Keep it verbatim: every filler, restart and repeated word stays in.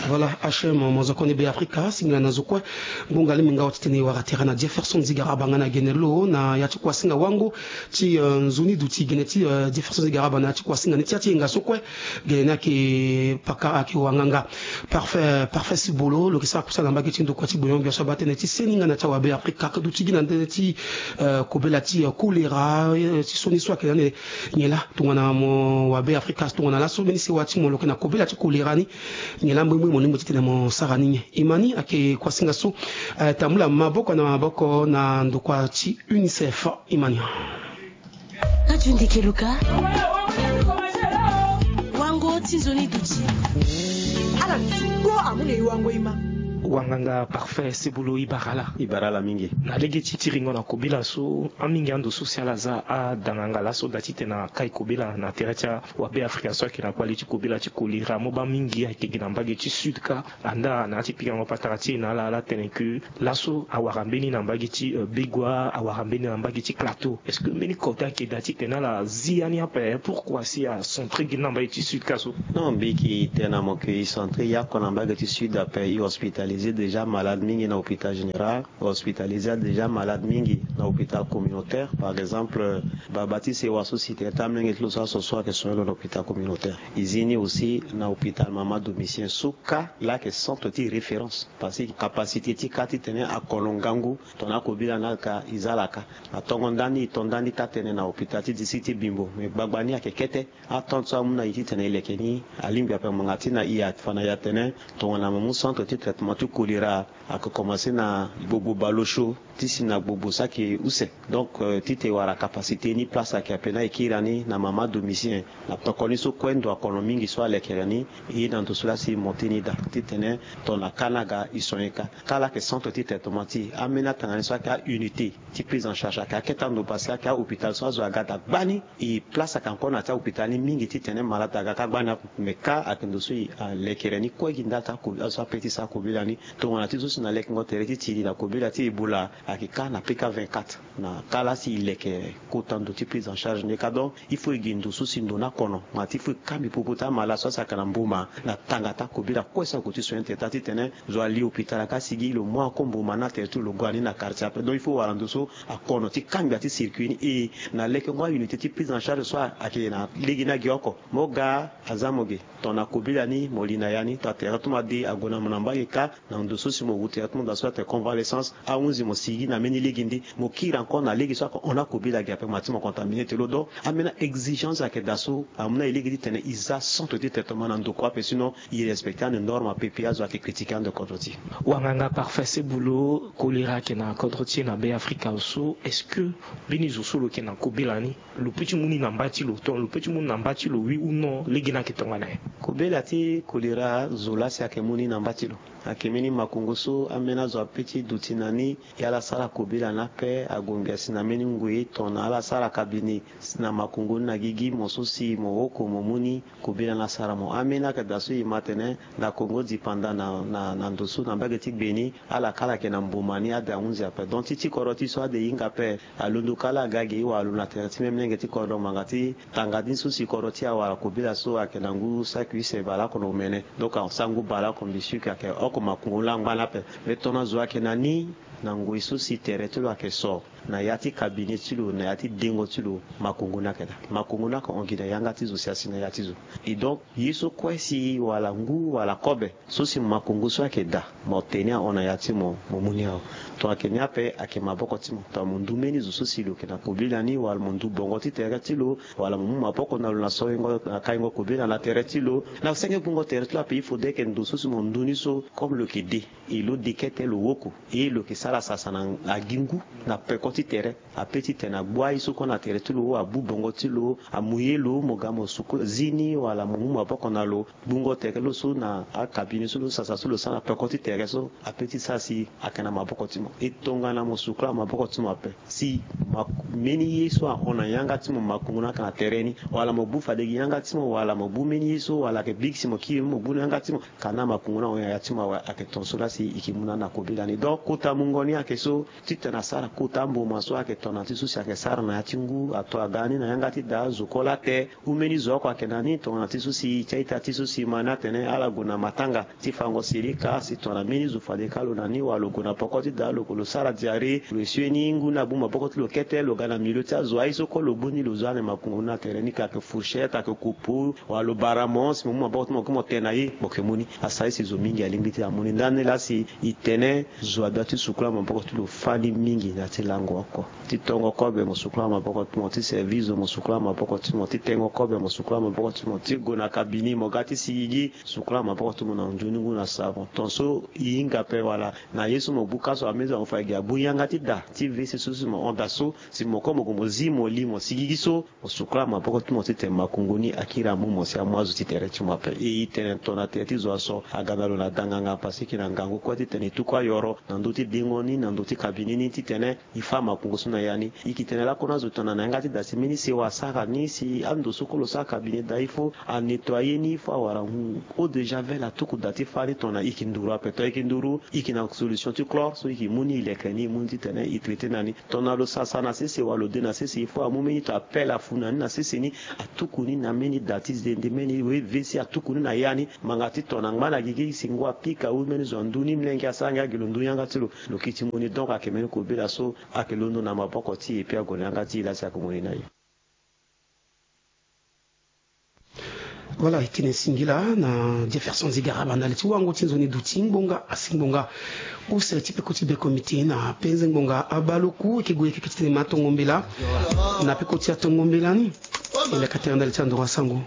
Voilà, H M, mo zo koni Be Afrika, singila na zo kue. Ngonga limi nga wa ti tene wara tere na Jefferson Zigaraba nga na gene lo na ya ti kuasinga wango ti, eh, nzoni duti gene ti, eh, Jefferson Zigaraba na ya ti kuasinga ni ti ya ti yenga so kue. Gene ni ayeke paka ayeke wanganga. Parfait, Parfait Sibolo, lo yeke sara kusala na mbage ti ndokua ti gbenyo-gbia so abaa tënë ti seni nga na ya ti awabe Afrika, ake duti gi na ndö ti, eh, kobela ti, eh, kolera, eh, ti sioni so ayeke na ande nyen laa tongana mo wabe Afrika, tongana laso mbeni sewa ti mo lo yeke na kobela ti kolera ni, nyen laa mbrimbri mo lingbi ti tene mo sara ni nyen? Imani ayeke kuasinga so, eh, tambula maboko na maboko na ndokua ti UNICEF. Imani. Radio Ndeke Luka. Wango ti nzoni duti. Ala ti go amu na e wango e ma. Wanganga Parfait Sibolo, e bara laa. E bara laa mingi. Na lege ti tiringo na kobela so, amingi ando so si ala za adanganga laso da titene akai kobela na tere ti awabe Afrika so ayeke na kpali ti kobela ti kolera, mo baa mingi ayeke gi na mbage ti sud kâ. Andaa na ya ti pikango patara ti e na ala, ala tene ke laso awara mbeni na mbage ti, euh, Begoua, awara mbeni na mbage ti Plateau. Est-ce que mbeni kota ayeke daa titene ala zi ya ni ape? Pourquoi si acentré gi na mbage ti sud kâ so? Non, mbi yeke tene na mo ke e centré ye oko na mbage ti sud ape. E hospitalisé déjà malade mingi na hôpital général. E hospitalisé déjà malade mingi na hôpital communautaire. Par exemple, baba ti sewa so si tere ti amolenge ti lo so aso so ayeke soigné lo na hôpital communautaire. E zi ni aussi na hôpital Mamadou Micien so kâ laa ayeke centre ti référence. Parce que capacité ti kâ titene akono ngangu tongana akobela ni ayeke ka, e za ala ka. Atongo ndani, e to ndani taa tënë na hôpital ti district ti Bimbo. Mais gbagba ni ayeke kete. Atente so amu na e titene e leke ni alingbi ape ngbanga ti na e afa na e atene tongana mo mu centre ti traitement ti choléra, ayeke commencé na gbogbo bale osio ti si na gbogbo so ayeke use. Donc, euh, titene e wara capacité ni, place ayeke ape na e kiri ani na Mamadou Micien. Na pekoni so kue ndo akono mingi so alekere ni, e na ndo so laa si e monté ni daa titene tongana kâ ni aga e soigné kâ. Kâ laa ayeke centre ti traitement ti e. Ambeni atanga ni so ayeke a-unité ti prise en charge ayeke akete ando parce que ayeke ahôpital so azo aga daa gbani. E place ayeke encore na ya ti ahôpital ni mingi titene malade aga kâ gbani ape. Mais kâ ayeke ndo so e, ah, lekere ni kue gi ndali ti ako, azo ape ti sara kobela ni. Tongana ti zo si na lekengo tere ti tiri na kobela ti Ebola ayeke kâ na P K vingt-quatre. Na kâ laa si e leke kota ndo ti prise en charge ni kâ. Donc, il faut e gi ndo so si ndo ni akono. Ngbanga ti il faut e kangbi popo ti amalade so asi ayeke na mboma na tanga ti akobela kue so ague ti soigné tere ti titene zo ali hôpital aka asigi lo mu ako mboma ni na tere ti lo, lo gue ani na quartier ape. Donc, il faut wara ndo so akono ti kangbi ya ti circuit ni. E na lekengo a-unité ti prise en charge so ayeke na lege ni agi oko. Mo ga aza mo ge. Tongana kobela ni mo li na ya ni, tongana tere ti mo ade ague na mo na mbage kâ, na ndo so si mo wu tere ti mo daa so atene convalescence, ahunzi mo sigi na mbeni lege ndi, mo kiri encore na lege so ayeke hon akobela ge ape, ngbanga ti mo contaminé ti lo. Donc, ambeni a-exigence ayeke daa so amu na e lege titene e za centre ti traitement na ndokua ape, sinon e respecté ande norme ape, puis azo ayeke critiqué ande kodro ti e. Wanganga Parfait Sibolo, kolera ayeke na kodro ti e na Be Afrika so, est-ce que mbeni zo so lo yeke na kobela ni, lo peut ti mu ni na mba ti lo, to lo peut ti mu ni na mba ti lo, oui ou non, lege ni ayeke tongana nyen? Kobela ti kolera, zo laa si ayeke mu ni na mba ti lo. Ayeke mbeni makongo so ambeni azo apeut ti duti na ni, e ala sara kobela ni ape, ague ngbia si na mbeni ngoi tongana ala sara cabinet si na makongo ni na gigi, mo so si mo oko mo mu ni, kobela ni asara mo. Ambeni ayeke daa so e ma atene na Congo dipanda na, na, na ndo so na mbage ti gbe ni, ala kâ ala yeke na mboma ni ade ahunzi ape. Donc ti ti kodro ti e so ade e hinga ape. Alondo kâ laa aga ge, e wara lo na tere ti même lenge ti kodro ngbanga ti tanga ni so si kodro ti e awara kobela so ayeke na ngu saki use baleoko na omene. Donc asango baleoko mbi suki ayeke oko makongo laa angba ni ape. Mais tongana zo ayeke na ni na ngoi so si tere ti lo ayeke so na ya ti cabinet ti lo, na ya ti dengo ti lo, makongo ni ayeke daa. Makongo ni ayeke hon gi na yanga ti zo si asi na ya ti zo. Et donc ye so kue si wala ngu wala kobe so si makongo so ayeke daa, mo te ni ahon na ya ti mo, mo mu ni awe. Tongana ayeke ni ape, ayeke maboko ti mo. Tongana mo ndu mbeni zo so si lo yeke na kobela ni, wala mo ndu bongo ti tere ti lo, wala mo mu maboko na lo na soingo, na kaingo kobela na tere ti lo, na senge gbungo tere ti lo ape, il faudrait que ndo so si mo ndu ni so, comme lo yeke de, e lo de kete lo woko, e lo yeke sara sasa na agi ngu na peko ti tere. Apeut ti tene agbu aye so kue na tere ti lo, abu bongo ti lo, amu ye lo, mo ga mo suku zi ni, wala mo mu maboko na lo, gbungo tere lo so na akabine so lo sasa so lo sara na peko ti tere so, apeut ti sara si ayeke na maboko ti mo. E tongana mo sukula maboko ti mo ape, si ma, mbeni ye so ahon na yanga ti mo, makongo ni ayeke na tere ni, wala mo bu fade gi yanga ti mo, wala mo bu mbeni ye so, wala ayeke bigi si mo kiri mo bu na yanga ti mo, kana makongo ni ahon na ya ti mo awe, ayeke ton so laa si e yeke mu na ni na kobela ni. Donc kota mungo Ni ayeke so titene asara kota mboma so ayeke tongana ti so si ayeke sara na ya ti ngu ato aga ni na yanga ti da azo kue laa te. Hu mbeni zo oko ayeke na ni tongana ti so si e ti a-ita ti so si e ma ni atene ala gue na matanga ti fango sirika si tongana mbeni zo fade ka lo na ni wala lo gue na poko ti da lo gue lo sara diarrhée lo esue ni ngu ni abu maboko ti lo kete lo ga na milieu ti azo aye so kue lo boni lo zo ane makungu ni atene ni ka ayeke fourchette ayeke kopo wala lo bara mo si mo mu maboko ti mo kue mo tene na ye mo yeke mu ni. Asara ye si zo mingi alingbi ti amu ni ndani laa si e tene zo abia ti sukula maboko ti lo fani mingi na ya ti lango oko. Ti tongo kobe mo sukula maboko ti mo, ti service zo mo sukula maboko ti mo, ti tengo kobe mo sukula maboko ti mo, ti gue na kabini mo ga ti sigigi sukula maboko ti mo na nzoni ngu na savon ton so e hinga ape wala na ye so mo buka so amezi mo fa gi abu yanga ti da ti vesi so si mo hon da so si mo kue mo gue mo zi mo li mo sigigi so mo sukula maboko ti mo titene makungu ni akiri amu mo si amu azo ti tere ti mo ape. E tene tongana tere ti zo aso aga na lo na danganga pasiki na ngangu kue titene e tuku ayoro na ndö ti dengo ni na ndö ti kabini ni titene e fa makungu so na ya ni. E yeke tene lakue na azo tongana na yanga ti da si mbeni sewa asara ni si ando so kue lo sara kabini da il faut anettoyer ni il faut awara eau de javel atuku da ti fa ni tongana e yeke nduru ape to e yeke nduru e yeke na solution ti chlore so e yeke mu ni e leke ni e mu ni titene e traiter na ni. Tongana lo sasa na sese wala lo de na sese il faut amu mbeni to apele afu na ni na sese ni atuku ni na mbeni da ti zende mbeni wevesi atuku ni na ya ni. Ngbanga ti tongana ngba na gigi si ngu apika awu mbeni zo andu ni mlenge asara ngia gi lo ndu yanga ti lo lo kiti mu ni donc ayeke mbeni kobela so ayeke londo na maboko ti e pe ague na yanga ti e laa si ayeke mu ni na e. Voilà, e tene singila na Jefferson Zigara bandali ti wango ti nzoni duti ngbonga asi ngbonga. Use ti peko ti beko miti na penze ngbonga abaloku e ke gue e ke kiti tene ma tongo mbela na peko ti atongo mbela ni. E leka tere ndali ti andoro asango.